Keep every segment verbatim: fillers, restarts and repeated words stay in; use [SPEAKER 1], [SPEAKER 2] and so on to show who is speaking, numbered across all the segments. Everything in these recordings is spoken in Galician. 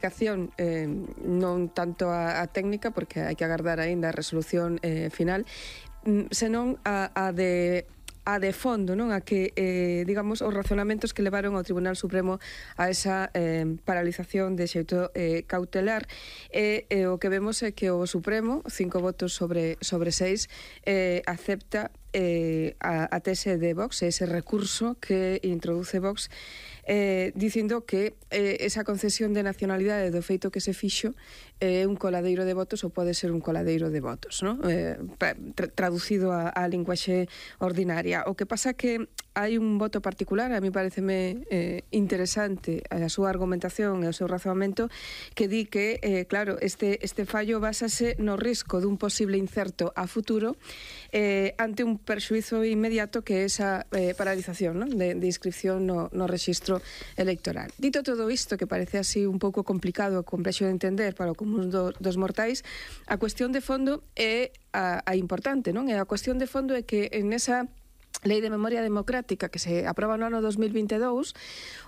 [SPEAKER 1] Eh, non tanto a, a técnica, porque hai que agardar aínda a resolución eh, final, senón a, a de a de fondo, non? A que, eh, digamos, os razonamentos que levaron ao Tribunal Supremo a esa eh, paralización de xeito eh, cautelar. E eh, o que vemos é que o Supremo, cinco votos sobre, sobre seis, eh, acepta eh, a, a tese de Vox, ese recurso que introduce Vox, eh, dicindo que eh, esa concesión de nacionalidade do feito que se fixo é eh, un coladeiro de votos ou pode ser un coladeiro de votos, non? Eh, tra traducido a, a linguaxe ordinaria. O que pasa que hai un voto particular, a mí pareceme eh, interesante a súa argumentación e o seu razonamento, que di que, eh, claro, este, este fallo basase no risco dun posible incerto a futuro eh, ante un perxuizo inmediato que é esa eh, paralización, non? De, de inscripción no, no rexistro electoral. Dito todo isto, que parece así un pouco complicado e complexo de entender para o común do, dos mortais, a cuestión de fondo é a, a importante, non? E a cuestión de fondo é que en esa Lei de Memoria Democrática que se aproba no ano dos mil vinte e dous,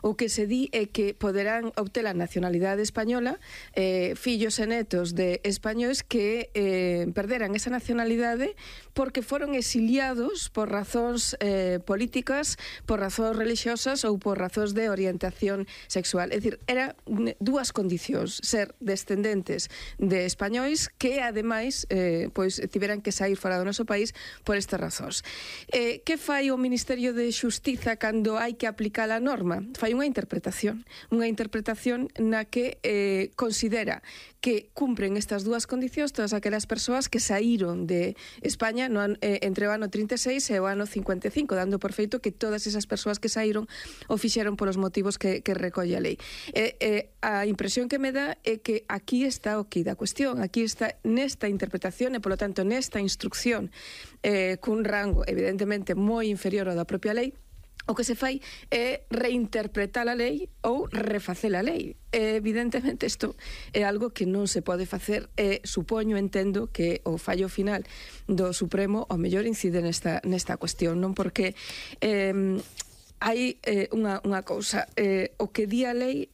[SPEAKER 1] o que se di é que poderán obter a nacionalidade española eh, fillos e netos de españois que eh, perderan esa nacionalidade porque foron exiliados por razóns eh, políticas, por razóns religiosas ou por razóns de orientación sexual. É dicir, eran dúas condicións: ser descendentes de españois que, ademais, eh, pois tiveran que sair fora do noso país por estas razóns. Eh, que fai o Ministerio de Xustiza cando hai que aplicar a norma? Fai unha interpretación, unha interpretación na que eh, considera que cumpren estas dúas condicións todas aquelas persoas que saíron de España no, eh, entre o ano trinta e seis e o ano cincuenta e cinco, dando por feito que todas esas persoas que saíron o fixeron polos motivos que, que recolle a lei. Eh, eh, a impresión que me dá é que aquí está o que da cuestión, aquí está nesta interpretación e, polo tanto, nesta instrucción eh, cun rango, evidentemente, moi inferior ao da propia lei. O que se fai é reinterpretar a lei ou refacer a lei. E, evidentemente, isto é algo que non se pode facer e supoño, entendo, que o fallo final do Supremo ao mellor incide nesta, nesta cuestión, non? Porque eh, hai eh, unha, unha cousa, eh, o que di a lei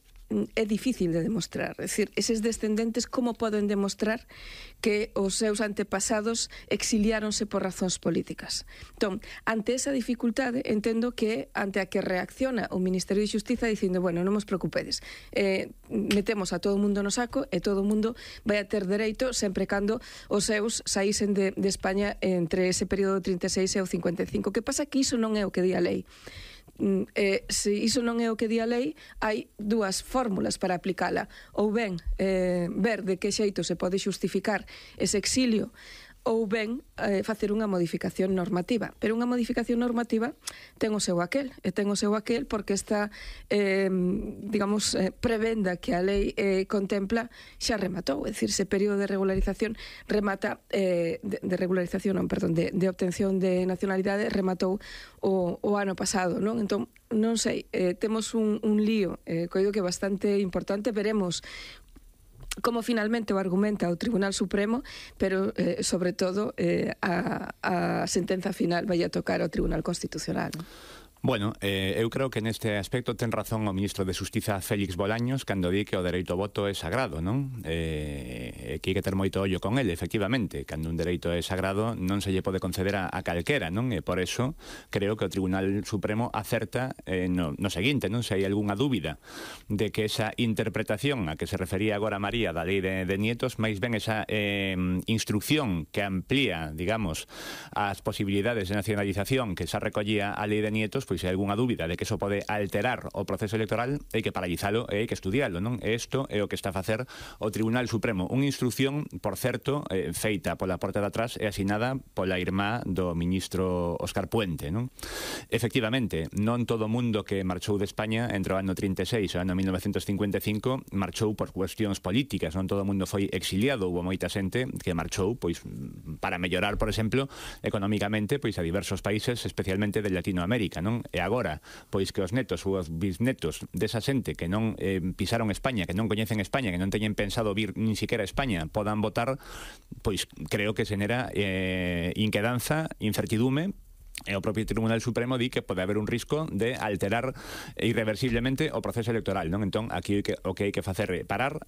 [SPEAKER 1] é difícil de demostrar. É dicir, eses descendentes como poden demostrar que os seus antepasados exiliáronse por razóns políticas? Entón, ante esa dificultade, entendo que ante a que reacciona o Ministerio de Xustiza dicindo, bueno, non vos preocupedes, eh, metemos a todo o mundo no saco e todo o mundo vai a ter dereito sempre cando os seus saísen de, de España entre ese período trinta e seis e o cincuenta e cinco. O que pasa que iso non é o que di a lei. Eh, se iso non é o que di a lei, hai dúas fórmulas para aplicala. Ou ben eh, ver de que xeito se pode xustificar ese exilio, ou ben eh, facer unha modificación normativa. Pero unha modificación normativa ten o seu aquel, e ten o seu aquel porque esta, eh, digamos, eh, prebenda que a lei eh, contempla xa rematou, é dicir, ese período de regularización remata, eh, de, de regularización, non, perdón, de, de obtención de nacionalidade rematou o, o ano pasado, non? Entón, non sei, eh, temos un, un lío, eh, coido que bastante importante, veremos como finalmente o argumenta o Tribunal Supremo, pero, eh, sobre todo, eh, a, a sentenza final vai a tocar ao Tribunal Constitucional, non?
[SPEAKER 2] Bueno, eh, eu creo que neste aspecto ten razón o ministro de Xustiza Félix Bolaños cando di que o dereito ao voto é sagrado, non? Eh, que hai que ter moito ollo con ele, efectivamente. Cando un dereito é sagrado non se lle pode conceder a, a calquera, non? E por eso creo que o Tribunal Supremo acerta eh, no, no seguinte, non? Se hai algunha dúbida de que esa interpretación a que se refería agora María da lei de, de nietos, máis ben esa eh, instrucción que amplía, digamos, as posibilidades de nacionalización que xa recollía a lei de nietos, pois se hai algunha dúbida de que eso pode alterar o proceso electoral, hai que paralizalo e hai que estudialo, non? E isto é o que está a facer o Tribunal Supremo. Unha instrucción, por certo, eh, feita pola porta de atrás e asinada pola irmá do ministro Óscar Puente, non? Efectivamente, non todo o mundo que marchou de España entre o ano trinta e seis e o ano mil novecentos cincuenta e cinco marchou por cuestións políticas, non todo o mundo foi exiliado, houve moita xente que marchou pois para mellorar, por exemplo, económicamente pois a diversos países, especialmente de Latinoamérica, non? E agora, pois que os netos ou os bisnetos desa xente que non eh, pisaron España, que non coñecen España, que non teñen pensado vir nin siquiera a España, podan votar, pois creo que xenera eh, inquedanza, incertidume, e o propio Tribunal Supremo di que pode haber un risco de alterar irreversiblemente o proceso electoral, non? Entón, aquí o que, o que hai que facer é parar,